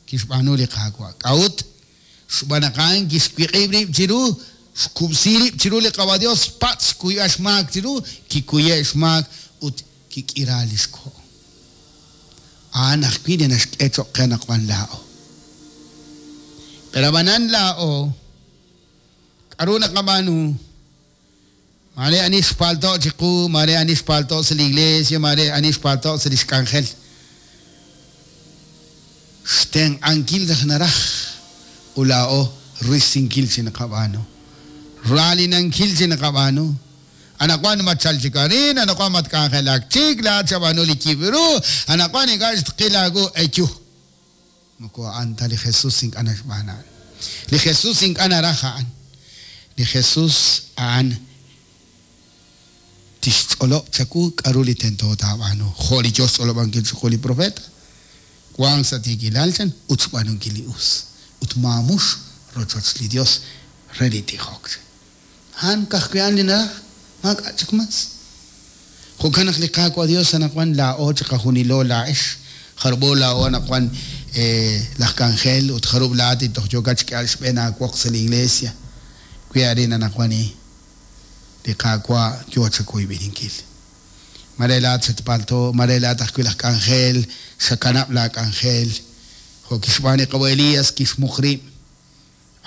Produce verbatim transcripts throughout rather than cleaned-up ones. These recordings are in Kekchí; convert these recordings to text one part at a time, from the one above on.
Kixb'aanu li Qaawa'. K'a'ut? Xb'aan naq a'an kixwiq'ib' rib' chiru, xkub'si rib' chiru li Qaawa' Dios, patz' xkuyb'al xmaak chiru, kikuye' xmaak ut kik'ira li xko'. A'an ajwi' li naxk'e cho'q qe anaqwan laa'o. Pero ab'anan laa'o, k'aru naqab'aanu? Mare ani xpalto' chiqu, mare ani xpalto' sa' li iglesia, mare ani xpalto' sa' li xk'anjel. Xtenq'ankil raj naraj ut laa'o risinkil chi naqab'aanu. Raalinankil chi naqab'aanu. Anaqwan matchal chik arin, anaqwan matk'anjelak chik, laa'at xab'aanu li yib' ru, anaqwan ink'a' xtqil aawu eyu. Moko a'an ta li Jesús ink'a' naxb'aan a'an. Li Jesús ink'a' naraj a'an. Li Jesús a'an tixch'olob' chawu k'aru li tento taab'aanu. Jo' li yo xch'olob'ankil chiqu li profeta. Wank sa' tiikilal chan ut xb'aanunkil li us. Ut maamux rochoch li Dios re li tijok. A'an ka'ajwi' a'an li naraj, maak'a' chik mas. Jo'kan naq li Qaawa' Dios anaqwan laa'o chiqajunilo laa'ex. Jarub'o laa'o anaqwan laj k'anjel ut jarub' laa'at li toj yookat xk'eeb'al xb'een aawoq sa' li iglesia. Wi arin anaqwan li Qaawa' yo chakuyb'ininkil. Mare laa'at xatpalto, mare laa'at ajwi' laj k'anjel, xakanab' laak'anjel. Jo' kixb'aan li Qawa' Elías kixmuq rib'.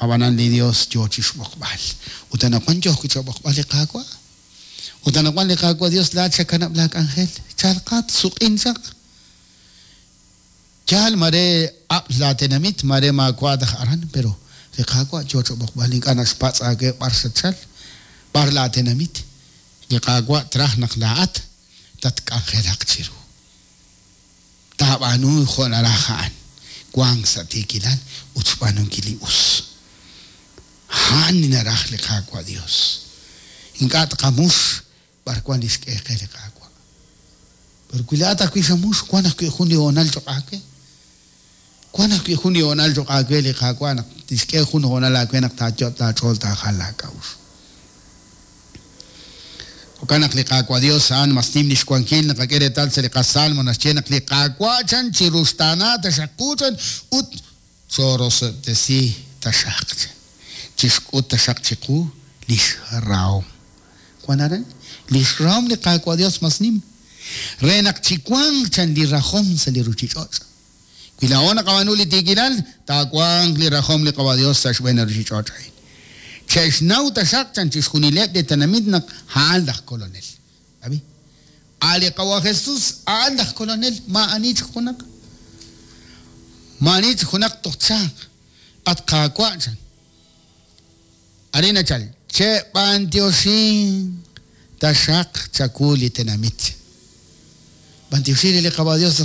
Ab'anan li Dios yo chixb'oqb'al. Ut anaqwan yo ajwi' chab'oqb'al li Qaawa'. Ut anaqwan li Qaawa' Dios laa'at xakanab' laak'anjel. Chalqat, suq'in chaq. Yaal mare ab'l laatenamit, mare maawa' taj aran, pero li Qaawa' yo chab'oqb'al ink'a' naxpatz' aawe b'ar xatchal, b'ar laatenamit. Li Qaawa' traj naq laa'at tatk'anjelaq chiru. Taab'aanu jo' naraj a'an. Wank sa' tiikilal ut xb'aanunkil li us. A'an li naraj li Qaawa' Dios. Ink'a' tqamux b'ar wan li xk'e qe li Qaawa'. Pero wi laa'at ajwi' xamux, wan ajwi' jun li hoonal cho'q aawe. Wan ajwi' jun li hoonal cho'q aawe li Qaawa' naq tixk'e jun hoonal aawe naq taayot' laach'ool taajal laak'a'uxl. Jo'kan naq li Qaawa' Dios a'an mas nim li xwankil naqak'e reetal sa' li qasalmo naxye naq li Qaawa' chan chiruxtaana taxaq qu chan ut chorosob'tesi taxaq chan. Chixk'ut taxaq chiqu li xrahom. Wan aran li xrahom li Qaawa' Dios mas nim. Re naq chiwanq chan li rajom sa' li ruchich'och'. Wi laa'o naqab'aanu li tiikilal, taawanq li rajom li Qaawa' Dios sa' xb'een li ruchich'och' a'in. Che'xnaw taxaq chan chixjunileb' li tenamit naq a'an laj kolonel. Ab'i? A' li Qawa' Jesús a'an laj kolonel, maa'ani chik junaq. Maa'ani chik junaq toj txaq. At Qaawa' chan. Arin nachal, che'b'antioxin taxaq chawu li tenamit. B'antioxin li Qaawa' Dios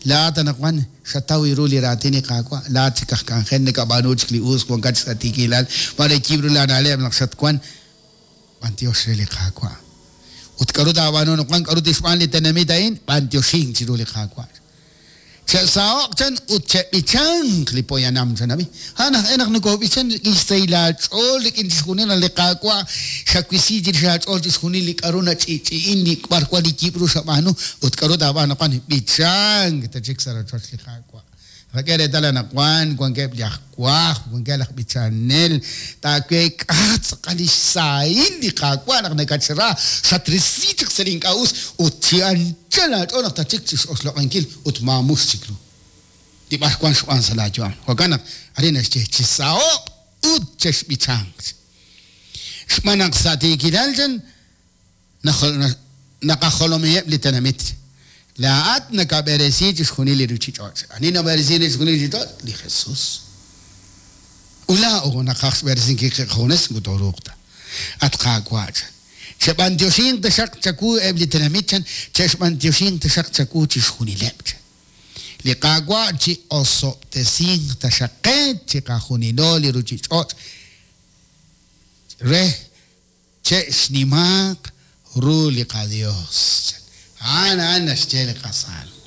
laa'at anaqwan xataw ru li raatin li Qaawa', laa'at chik aj k'anjel nakab'aanu chik li us, wankat sa' tiikilal, mare yib' ru laana'leb' naq xatwan, b'antiox re li Qaawa'. Ut k'aru taab'aanu anaqwan, k'aru tixb'aan li tenamit a'in, b'antioxin chiru li Qaawa'. Che'saho'q chan ut che'b'ichanq li poyanam chan ab'i. A'an aj e naq nokob'ichan rik'in xsahil aach'ool rik'in chixjunil li Qaawa' xawisi chirix aach'ool chixjunil li k'aru nach'i'ch'i'in li b'ar wan li yib' ru xab'aanu ut k'aru taab'aanu anaqwan b'ichank ta chik sa' rochoch li Qaawa'. Rak'e reetal anaqwan wankeb' li aj wajb', wankeb' laj b'ichanel, taaweek'a tz'aqal li xsahil li Qaawa' naq nakatxra, xatrisi chik sa' li ink'a' us ut chi anchal aach'ool naq tachik chix'oxloq'ankil ut maamux chik ru. Li b'ar wan xb'aan sa' laayu'am. Jo'kan naq arin naxye chisaho'q ut chexb'ichanq. Xb'aan naq sa' tiikilal chan naqajolomiheb' li tenamit. Laa'at nakab'eresi chixjunil li ruchich'och'. Ani nab'eresi chixjunil li ruchich'och'? Li Jesús. Ut laa'o naqaj xb'eresinkil qajunes moko tooruuq ta. At Qaawa' chan. Cheb'antioxinq taxaq chawu eb' li tenamit chan, chexb'antioxinq taxaq chawu chixjunileb' chan. Li Qaawa' chi osob'tesinq taxaq qe chiqajunilo li ruchich'och' re che'xnimaaq ru li qaDios. A'an a'an naxye li qasalmo.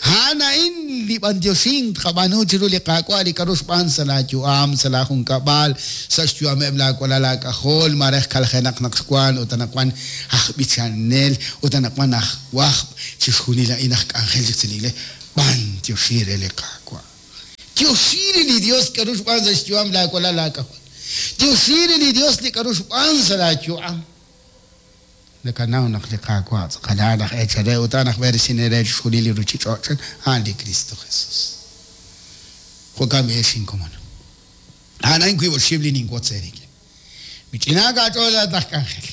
A'an a'in li b'antioxin tqab'aanu chiru li Qaawa' li k'aru xb'aan sa' laayu'am, sa' laajunkab'al, sa' xyu'ameb' laawalal laak'ajol, mare kaljenaq naq xwan ut anaqwan aj b'ichanel ut anaqwan aj wajb', chixjunil a'in aj k'anjel chik sa' li iglesia. B'antioxin re li Qaawa'. Tioxi re li Dios k'aru xb'aan sa' xyu'am laawalal laak'ajol. Tioxi re li Dios li k'aru xb'aan sa' laayu'am. Nakanaw naq li Qaawa' tz'aqal a'an aj eechal re ut a'an aj b'eresinel re chixjunil li ruuchich'och' a'an li Kristo Jesus. Jo'kan b'i ex inkomon. A'an a'in wiib' oxib' li ninwotz eerik'in. Mich'inaak aach'ool laa'at aj k'anjel.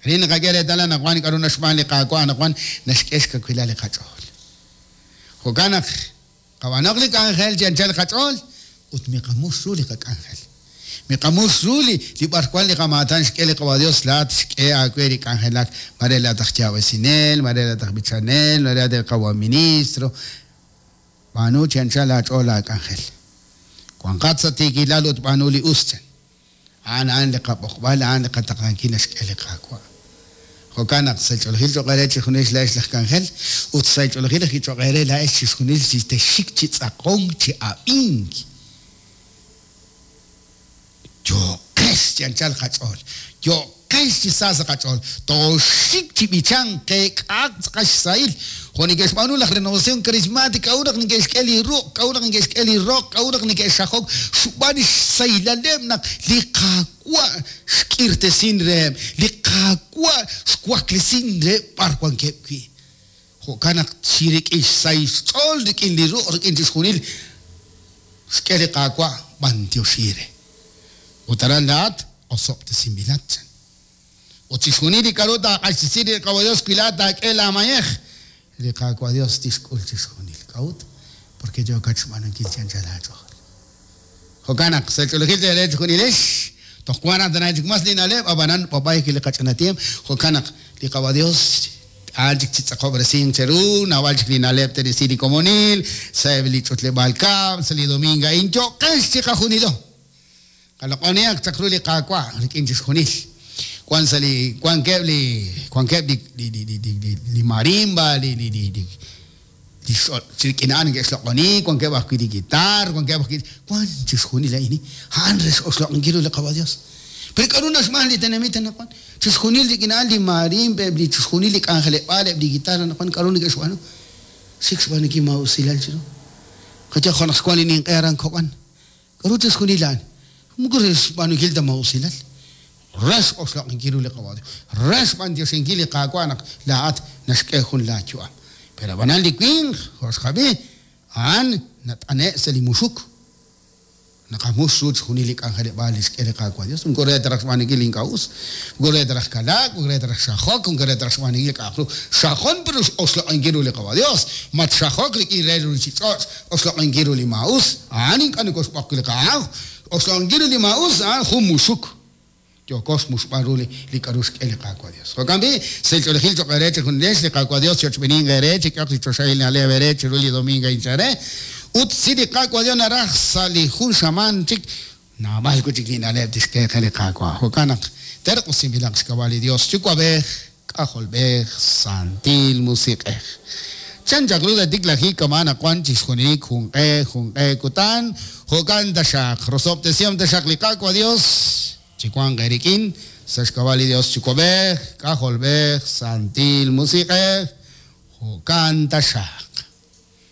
Arin naqak'e reetal anaqwan k'aru naxb'aan li Qaawa' anaqwan naxk'e xkawilal li qach'ool. Jo'kan naq qab'aanoq li k'anjel chi anchal qach'ool ut miqamux ru li qak'anjel. Miqamux ru li li b'arwan li qamaatan xk'e li Qaawa' Dios laa'at xk'e aawe li k'anjelak. Mare laa'at aj yaab'esinel, mare laa'at aj b'ichanel, mare laa'at aj qawa ministro. B'aanu chi anchal aach'ool laak'anjel. Wanqat sa' tiikilal ut b'aanu li us chan. A'an a'an li qab'oqb'al, a'an li qataqlankil naxk'e li Qaawa'. Jo'kan naq sa' ch'oolejil cho'q eere chixjunil laa'ex laj k'anjel ut sa' ch'oolejil ajwi' cho'q eere laa'ex chixjunil chi texxik chi tz'aqonk chi ab'ink. Yo'qex chi anchal qach'ool, yo'qex chi sa sa' qach'ool, tooxik chi b'ichank qeek'a'aq tz'aqal xsahil. Jo' neke'xb'aanu laj Renovación Carismática, k'a'ut naq neke'xk'e li ruq', k'a'ut naq neke'xk'e li roq, k'a'ut naq neke'xajok xb'aan xsahilaleb' naq li Qaawa' xk'irtesin reheb', li Qaawa' xwaklesin reheb' b'ar wankeb' wi'. Jo'kan naq chi rik'in xsahil xch'ool, rik'in li ruq', rik'in chixjunil xk'e li Qaawa' b'antioxi re. Ut aran laa'at osob'tesinb'ilat chan. Ut chixjunil li k'aru taaq'axtesi li Qaawa' Dios wi laa'at taak'e laamayej, li Qaawa' Dios tixk'ul chixjunil. K'a'ut? Porque yookat xb'aanunkil chi anchal aach'ool. Jo'kan naq sa' ch'oolejil teere chixjunilex, toj wan raj tana chik mas li na'leb', ab'anan b'ab'ay li qach'ina tiemp. Jo'kan naq li Qaawa' Dios a'an chik chi tz'aqob'resink cheru, naab'al chik li na'leb' terisi li komonil, sa'eb' li ch'utleb'aal kab'l, sa' li domingo a'in yo'qex chiqajunilo. Qaloq'onihaq chaq ru li Qaawa' rik'in chixjunil. Wan sa' li wankeb' li wankeb' li li li li li li marimba, li li li li li rik'in a'an neke'xloq'oni, wankeb' ajwi' li guitar, wankeb' ajwi' wan chixjunil a'in. A'an re x'oxloq'inkil ru li Qaawa' Dios. Pero k'aru naxb'aan li tenamit anaqwan? Chixjunil rik'in a'an li marimba, eb' li chixjunil li k'anjeleb'aal, eb' li guitar anaqwan k'aru neke'xb'aanu? Xik xb'aanunkil maa'usilal chiru. Qayaj jo' naq xwan li ninq'e aran Kob'an. K'aru chixjunil a'an? Moko re xb'aanunkil ta maa'usilal. Re x'oxloq'inkil ru li Qaawa' Dios. Re xb'antioxinkil li Qaawa' naq laa'at naxk'e jun laayu'am. Pero ab'anan li winq, jo' xqab'i, a'an nat'ane' sa' li muxuk. Naqamux ru chixjunil li k'anjeleb'aal li xk'e li Qaawa' Dios. Moko re ta raj xb'aanunkil li ink'a' us. Moko re ta raj kalaak, moko re ta raj xajok, moko re ta raj xb'aanunkil k'a'aq ru. Xajon pero oxloq'inkil ru li Qaawa' Dios. Matxajok rik'in re ruuchich'och', oxloq'inkil ru li maa'us. A'an ink'a' nokoxb'oq li Qaaw. Oxloq'inkil ru li maa'us, a'an jun muxuk. Yookos muxb'aan ru li li k'aru xk'e li Qaawa' Dios. Jo'kan b'i', sa' ch'oolejil cho'q eere chixjunilex li Qaawa' Dios chochb'eninq eere, chik'ehoq li choxahil na'leb' eere chiru li domingo a'in chare. Ut si li Qaawa' Dios naraj sa' li jun xamaan chik, naab'al wi' chik li na'leb' tixk'e qe li Qaawa'. Jo'kan naq terq'usinb'ilaq xk'ab'a' li Dios Yuwa'b'ej, K'ajolb'ej, Santil Musiq'ej. Chan chaq ru tiklajik kama anaqwan chixjunilik junq'e, junq'e kutan, jo'kan taxaq, rosob'tesihom taxaq li Qaawa' Dios, chiwanq eerik'in, sa' xk'ab'a' li Dios Yuwa'b'ej, K'ajolb'ej, Santil Musiq'ej, jo'kan taxaq.